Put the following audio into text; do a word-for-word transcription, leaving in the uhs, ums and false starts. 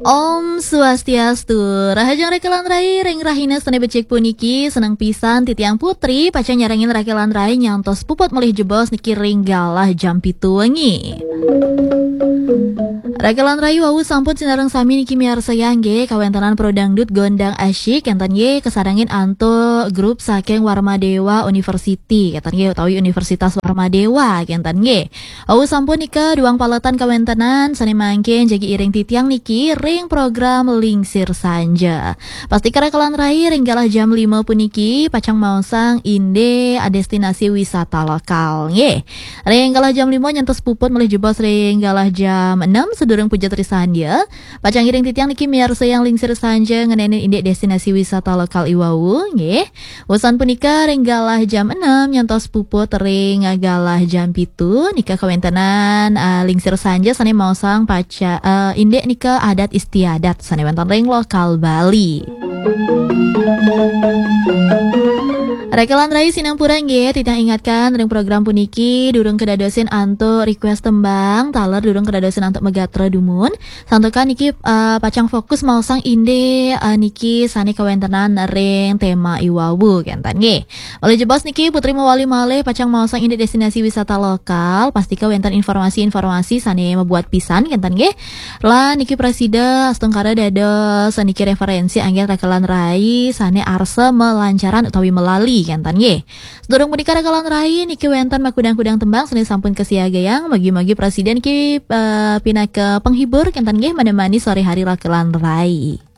Om Swastiastu. Rahajeng raka lan rai, ring rahina sane becik puniki, seneng pisan titiang Putri pacang nyarengin raka lan rai nyantos puput malih jebos niki ring galah jam pitu wengi. Raka lan rai, wau sampun sinareng sami niki miarsayang nggih kawentenan Pro Dangdut Gondang Asyik, enten nggih kasarengin antuk grup saking Warmadewa University, enten nggih, utawi Universitas Warmadewa, enten nggih. Wau sampun nika duang paletan kawentenan sane mangkin jagi iring titiang niki ring program Lingsir Sanja. Pastika raka lan rai, ring galah jam lima puniki pacang maosang indik destinasi wisata lokal nggih. Ring galah jam lima nyantos puput malih jebos ring galah jam enam sadurung puja trisandya. Pacang iring titiang niki miarsayang Lingsir Sanja ngenenin indik destinasi wisata lokal i wau nggih. Wusan punika ring galah jam enam nyantos puput ring galah jam pitu nika kawentenan, eh, Lingsir Sanja sane maosang paca, eh, indik nika adat istiadat sane wenten ring lokal Bali. Raka lan rai, sinampura nggih, titiang ingatkan ring program puniki durung kedadosin antuk request tembang, taler durung kedadosin antuk megatra dumun. Santukan niki, eh, pacang fokus maosang indik, eh, niki sane kawentenan ring tema i wau kenten nggih. Malih jebos niki Putri mawali malih pacang maosang indik destinasi wisata lokal, pastika wenten informasi-informasi sane mabuat pisan kenten nggih. Lan niki prasida astungkara dados niki referensi anggen raka lan rai sane arsa malancaran utawi malali kenten nggih. Sadurung punika raka lan rai niki wenten makudang-kudang tembang sane sampun kasiagayang, mugi-mugi prasida niki, eh, pinaka penghibur kenten nggih, menemani sore hari raka lan rai.